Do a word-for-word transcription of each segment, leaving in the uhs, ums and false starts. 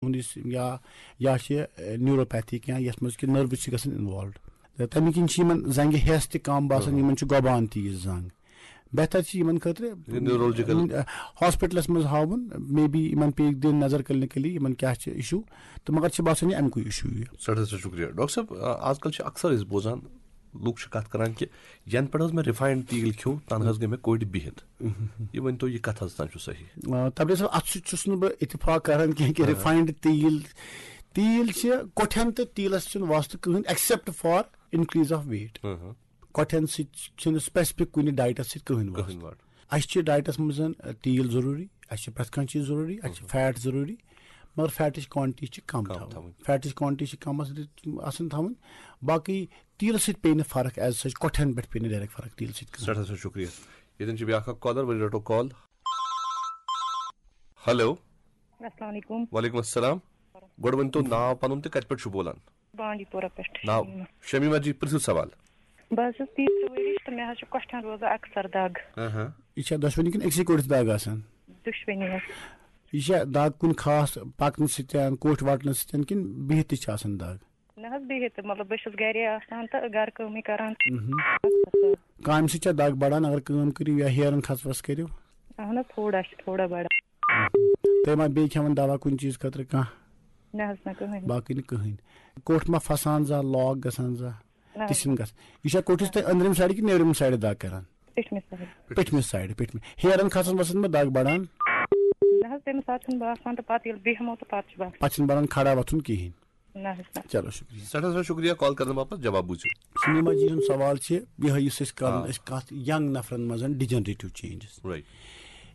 ہُنٛد یُس یا یا چھِ نیوروپیتھی کینٛہہ، یَتھ منٛز کہِ نٔروٕز چھِ گژھان اِنوالوڈ، تہٕ تَمہِ کِنۍ چھِ یِمَن زنٛگہِ ہٮ۪س تہِ کَم باسان، یِمَن چھُ گۄبان تیٖژ زنٛگ۔ بہتر چھِ یِمَن خٲطرٕ یہِ نیورولجیکل۔ ہاسپِٹلَس منٛز ہاوُن، مے بی یِمَن پیٚیہِ دِنۍ نظر کلینکلی، یِمَن کیٛاہ چھِ اِشوٗ، تہٕ مگر چھِ باسان یہِ اَمہِ کُے اِشوٗ یہِ۔ سٮ۪ٹھاہ سٮ۪ٹھاہ شُکریہ۔ ڈاکٹر صٲب، آ، آز کل چھِ اکثر أسۍ بوزان، لُکھ چھِ کتھ کران کہِ ینہٕ پٮ۪ٹھ حظ مےٚ رِفاینڈ تیٖل کھیوٚو، تنہٕ حظ گٔے مےٚ کوٚٹھۍ بِہِتھ۔ یہِ ؤنۍ تو، یہِ کتھ حظ تام چھُ صحیح؟ آ، تبریز صٲب، اَتھ سۭتۍ چھُس نہٕ بہٕ اتفاق کران کینٛہہ کہِ رِفاینڈ تیٖل، تیٖل چھِ کوٚٹھٮ۪ن تہٕ تیٖلس چھُنہٕ واسطہٕ کٕہٕنۍ except for increase of weight۔ کۄٹھٮ۪ن سۭتۍ چھُنہٕ specific کُنہِ ڈایٹس سۭتۍ کٕہٕنۍ واسطہٕ۔ کٕہٕنۍ واسطہٕ۔ اَسہِ چھِ ڈایٹس منٛز، آ، تیٖل ضروٗری، اَسہِ چھِ پرٛٮ۪تھ کانٛہہ چیٖز ضروٗری، اَسہِ چھِ فیٹ ضروٗری، مگر فیٹٕچ کوانٹٹی چھِ کم کم تھاوٕنۍ۔ تھاوٕنۍ۔ فیٹٕچ کوانٹٹی چھِ کم آسان، آسان تھاوٕنۍ۔ باقٕے تیٖلہٕ سۭتۍ پیٚیہِ نہٕ فرق as such، کوٚٹھٮ۪ن پٮ۪ٹھ پیٚیہِ نہٕ ڈایریکٹ فرق تیٖلہٕ سۭتۍ کٕہٕنۍ۔ سٮ۪ٹھاہ سٮ۪ٹھاہ شُکریہ۔ ییٚتٮ۪ن چھِ بیٛاکھ اکھ کالر، وۄنۍ رٹو کال۔ ہیلو۔ السلام علیکم۔ وعلیکم السلام۔ گۄڈٕ ؤنۍ تو ناو پنُن تہٕ کتہِ پٮ۪ٹھ چھُو بولان؟ بانڈی پورہ پٮ۪ٹھ۔ ناو؟ شمیمہ۔ شمیمہ جی، پرٛژھِو سوال۔ بہٕ حظ چھَس تیٖژ ؤرِش تہٕ مےٚ حظ چھِ کۄٹھٮ۪ن روزان اکثر دگ۔ ہاں ہاں۔ یہِ چھا دۄشوٕنی کِنہٕ أکسٕے کوٚٹھِس دگ آسان؟ دۄشوٕنی حظ۔ یہِ چھا دگ کُنہِ خاص پکنہٕ سۭتۍ، کوٚٹھۍ وٹنہٕ سۭتۍ کِنہٕ بِہِتھ تہِ چھِ آسان دگ؟ نہ حظ، بِہِتھ تہٕ، مطلب، بہٕ چھَس گرے آسان تہٕ گرٕ کٲمٕے کران۔ مہم۔ کامہِ سۭتۍ چھا دگ بڑان اگر کٲم کٔرِو یا ہیرن کھسوس کٔرِو؟ اہن حظ، تھوڑا چھِ، تھوڑا بڑان۔ تُہۍ ما بیٚیہِ کھٮ۪وان دوا کُنہِ چیٖز خٲطرٕ کانٛہہ؟ نہ حظ، نہ کٕہٕنۍ۔ باقٕے نہٕ کٕہٕنۍ۔ کوٚٹھ ما پھسان زانٛہہ، لاک گژھان زانٛہہ؟ نہ تہِ حظ، چھِنہٕ نہ۔ گژھان۔ یہِ چھا کوٚٹھِس تۄہہِ أنٛدرِم سایڈٕ کِنہٕ نیٚبرِم سایڈٕ دگ کران؟ پٔتمہِ سایڈٕ۔ پٔتمہِ سایڈٕ، پٔتمہِ۔ ہیرن کھسان وسان ما دگ بڑان؟ نہ حظ، تَمہِ ساتہٕ چھُنہٕ باسان تہٕ پتہٕ ییٚلہِ بیٚہمو تہٕ پتہٕ چھُ باسان۔ پتہٕ چھِنہٕ بڑان کھڑا وۄتھُن کِہیٖنۍ۔ نہ حظ، نہ۔ چلو، شُکریہ۔ سٮ۪ٹھاہ سٮ۪ٹھاہ شُکریہ کال کرنہٕ باپتھ۔ جواب بوٗزِو۔ شمیمہ جی ہُنٛد سوال چھِ یِہوٚے، یُس أسۍ کران، آ۔ أسۍ کتھ ینگ نفرن منٛز degenerative changes۔ Right۔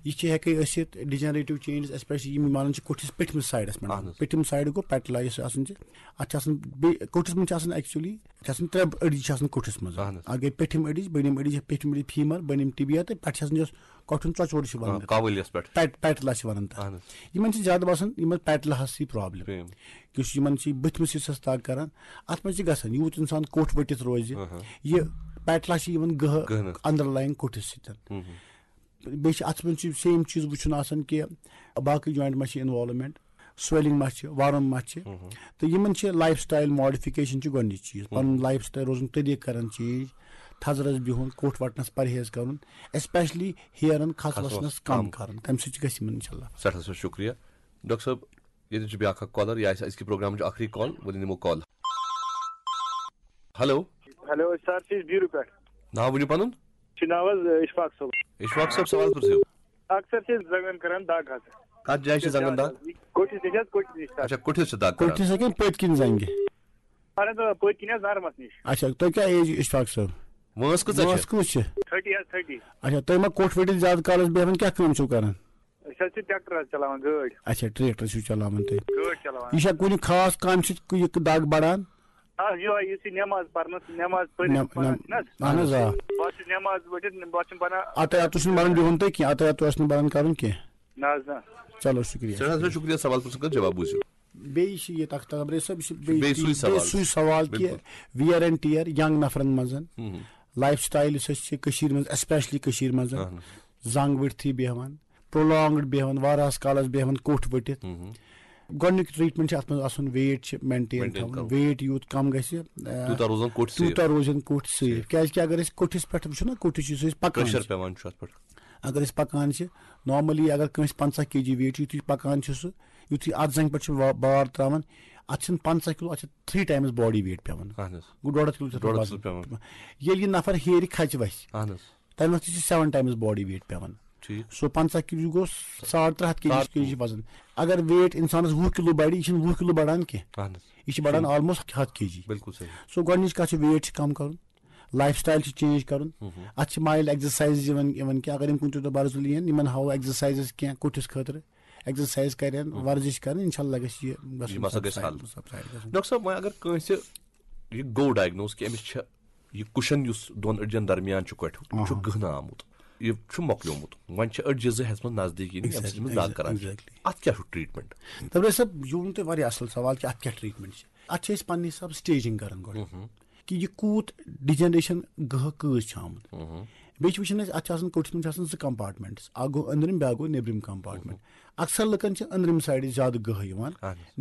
یہِ چھِ ہٮ۪کے ٲسِتھ degenerative changes، especially یِم ونان چھِ کوٚٹھِس پٔتمِس سایڈس پٮ۪ٹھ۔ اہن حظ۔ پٔتِم سایڈ گوٚو پیٹلا یۄس آسان چھِ، اتھ چھِ آسان بیٚیہِ، کوٚٹھِس منٛز چھِ آسان actually، اتھ چھِ آسان ترٛےٚ أڈِج چھِ آسان کوٚٹھِس منٛز۔ اہن حظ۔ اکھ گٔے پٔتھِم أڈِج، بٔنِم أڈِج، پٔتھِم أڈِج femur، بٔنِم tibia، تہٕ پٮ۪ٹھٕ چھِ آسان یۄس کوٚٹھُن ژۄچور چھِ ونان۔ آ، کاولیس پٮ۪ٹھ۔ پیٹ-، پیٹلا چھِ ونان تتھ۔ اہن حظ۔ یِمن چھِ زیادٕ باسان یِمن پیٹلاہس سۭتۍ problem۔ Problem۔ یُس یِمن چھِ بٕتھِ منٛز یُس اَسہِ دگ کران، اَتھ منٛز چھِ گژھان یوٗت اِنسان کوٚٹھ ؤٹِتھ روزِ، اہا۔ یہِ پیٹلا چھِ یِوان گٔہہ گٔہنہٕ۔ Underlying کوٚٹھِس سۭتۍ۔ ہُم ہُم۔ بیٚیہِ چھِ اَتھ منٛز چھِ same چیٖز وٕچھُن آسان کہِ باقٕے joint ما چھِ involvement، swelling ما چھِ، worm ما چھِ۔ ہُم ہُم۔ تہٕ یِمن چھِ lifestyle modification چھِ گۄڈٕنِچ چیٖز، ہُم پَنُن ہُم۔ Lifestyle روزُن طریٖقہٕ کران change، تھزرَس بِہُن، کوٚٹھ وَٹنَس پرہیز کرُن، especially ہیرَن کھَس کھَس وَسنَس وَس کَم کَم۔ کرُن، تَمہِ سۭتۍ چھِ گژھِ یِمن اِنشاء اللہ۔ سٮ۪ٹھاہ سٮ۪ٹھاہ شُکریہ۔ ڈاکٹر صٲب، ییٚتٮ۪ن چھُ بیٛاکھ اکھ کالر، یہِ آسہِ أزکہِ پروگرامٕچ ٲخری کال، وۄنۍ نِمو کال۔ ہیلو۔ ہیلو، أسۍ سر چھِ أسۍ بیٖرو پٮ۪ٹھ۔ ناو ؤنِو پنُن۔ چھُ ناو حظ اشفاق صٲب۔ اشفاق صٲب، سوال پرٛژھِو۔ اکثر چھِ أسۍ زنٛگن کران دگ حظ۔ کتھ جایہِ چھِ زنٛگن دگ؟ کوٚٹھِس نِش حظ، کوٚٹھِس نِش سر۔ اچھا، کوٚٹھِس چھِ دگ کران۔ کوٚٹھِس ہا کِنہٕ پٔتۍ کِنۍ زنٛگہِ؟ اہن حظ، آ، پٔتۍ کِنۍ حظ نرمس نِش۔ اچھا، تۄہہِ کیٛاہ ایج اشفاق صٲب؟ وٲنٛس کۭژاہ چھِ؟ وٲنٛس کۭژ چھِ؟ تھٔٹی حظ، تھٔٹی۔ اچھا، تُہۍ ما کوٚٹھ ؤٹِتھ زیادٕ کالس بیٚہوان، کیٛاہ کٲم چھِو کران؟ أسۍ حظ چھِ ٹریکٹر حظ چلاوان، گٲڑۍ۔ اچھا، ٹریکٹر چھِو چلاوان تُہۍ۔ گٲڑۍ چلاوان۔ یہِ چھا کُنہِ خاص کامہِ سۭتۍ یہِ دگ بڑان؟ آ، یِہوٚے یُس یہِ نٮ۪ماز پرنَس، نٮ۪ماز پٔرِتھ نٮ۪م-، پَران نٮ۪م-، چھِنہٕ حظ؟ اہن حظ، آ۔ بہٕ حظ چھُس نٮ۪ماز پٔرِتھ، بہٕ حظ چھُنہٕ بَنان۔ اَتَے اَتھ چھُنہٕ بَنان بِہُن تۄہہِ کینٛہہ، اَتَے اَتھ اوس نہٕ بَنان کَرُن کینٛہہ۔ نہ حظ، نہ۔ چلو، شُکریہ۔ سٮ۪ٹھاہ سٮ۪ٹھاہ شُکریہ، سوال پرٛژھنہٕ خٲطرٕ جواب بوٗزِو۔ بیٚیہِ چھِ یہِ تَخت تبرے صٲب، یہِ چھِ بیٚیہِ بیٚیہِ سُے تی-، سوال۔ بیٚیہِ سُے سوال کہِ بِلکُل۔ Wear and tear young نفرَن منٛز، ہُم۔ Lifestyle یُس اَسہِ چھِ کٔشیٖرِ منٛز، especially کٔشیٖرِ منٛز، اہن حظ۔ زنٛگ ؤٹتھٕے بیٚہوان، prolonged بیٚہوان، واریاہَس کالَس بیٚہوان کوٚٹھ ؤٹِتھ۔ ہُم۔ گۄڈٕنیُک treatment چھِ اَتھ منٛز آسُن weight چھِ maintain maintain تھاوُن۔ تھاوُن۔ Weight یوٗت کَم گژھِ، آ، تیوٗتاہ روزان کوٚٹھۍ تیوٗتاہ safe۔ روزن کوٚٹھۍ safe۔ Safe۔ کیٛازِکہِ اگر أسۍ کوٚٹھِس پٮ۪ٹھ وٕچھو نا، کوٚٹھِس یُس أسۍ پَکان pressure چھِ، پٮ۪وان چھُ اَتھ پٮ۪ٹھ۔ اگر أسۍ پَکان چھِ، normally اگر کٲنٛسہِ پنٛژاہ کے جی weight چھُ، یُتھُے پَکان چھُ سُہ، یُتھُے اَتھ زَنٛگہِ پٮ۪ٹھ چھِ وا-، بار ترٛاوان، اَتھ چھِنہٕ پنٛژاہ کِلوٗ، اَتھ چھِ three times body weight پٮ۪وان۔ اہن حظ۔ گوٚو ڈۄڈ ہَتھ کِلوٗ چھُ اَتھ ڈۄڈ ہَتھ وَزن۔ کِلوٗ پٮ۪وان۔ ییٚلہِ یہِ نفر ہیٚرِ کھژِ وَسہِ، اہن حظ۔ تَمہِ وقتہٕ چھِ seven times body weight پٮ۪وان۔ ٹھیٖک۔ سُہ پنٛژاہ کِلوٗ گوٚو ساڑ ترٛےٚ ہَتھ کے جی ساڑ کے جی وزن۔ اگر weight اِنسانَس وُہ کِلوٗ بَڑِ، یہِ چھِنہٕ وُہ کِلوٗ بَڑان کینٛہہ۔ اہن حظ۔ یہِ چھِ بَڑان صحیح۔ Almost ہَتھ کے جی۔ بِلکُل صحیح۔ So گۄڈٕنِچ کَتھ چھِ weight چھِ کَم کَرُن، lifestyle چھِ change کَرُن۔ ہُم ہُم۔ اَتھ چھِ mild exercise یِوان، یِوان کینٛہہ۔ اگر یِم کُنہِ تہِ دۄہ بَرزُلہِ یِن، یِمَن ہاوو exercises کینٛہہ کوٚٹھِس خٲطرٕ، exercise کَرن، ہُم۔ ورزش کَرن، اِنشاءاللہ گژھِ یہِ گژھُن یہِ ہسا گژھِ subside، حل۔ Subside گژھُن۔ ڈاکٹر صٲب، وۄنۍ اگر کٲنٛسہِ یہِ گوٚو diagnose کہِ أمِس چھِ یہِ cushion یُس دۄن أڈجن درمیان چھُ کۄٹھیُک، یہِ چھُ آہا۔ گٕہنہٕ آمُت، یہِ چھُ مۄکلیومُت، وۄنۍ چھِ أڈجہِ زٕ ہٮ۪ژمٕژ نظدیٖک یِنہِ، ییٚمہِ سۭتۍ أمِس دگ exactly، کران چھِ۔ Exactly۔ اَتھ کیٛاہ چھُ treatment؟ تبرے صٲب، یہِ ووٚن تۄہہِ واریاہ اَصٕل سوال کہِ اَتھ کیٛاہ treatment چھِ۔ اَتھ چھِ أسۍ پننہِ حساب staging کران گۄڈٕ، ہُم ہُم۔ کہِ یہِ کوٗت degeneration گٔہہ کۭژ چھِ آمٕژ۔ ہُم ہُم۔ بیٚیہِ چھِ وٕچھان أسۍ، اَتھ چھِ آسان کوٚٹھِس منٛز چھِ آسان زٕ compartments، اَکھ گوٚو أنٛدرِم، بیٛاکھ گوٚو نیٚبرِم compartment۔ ہُم ہُم۔ اکثر لُکن چھِ أنٛدرِم side زیادٕ گٔہہ یِوان۔ اہن حظ۔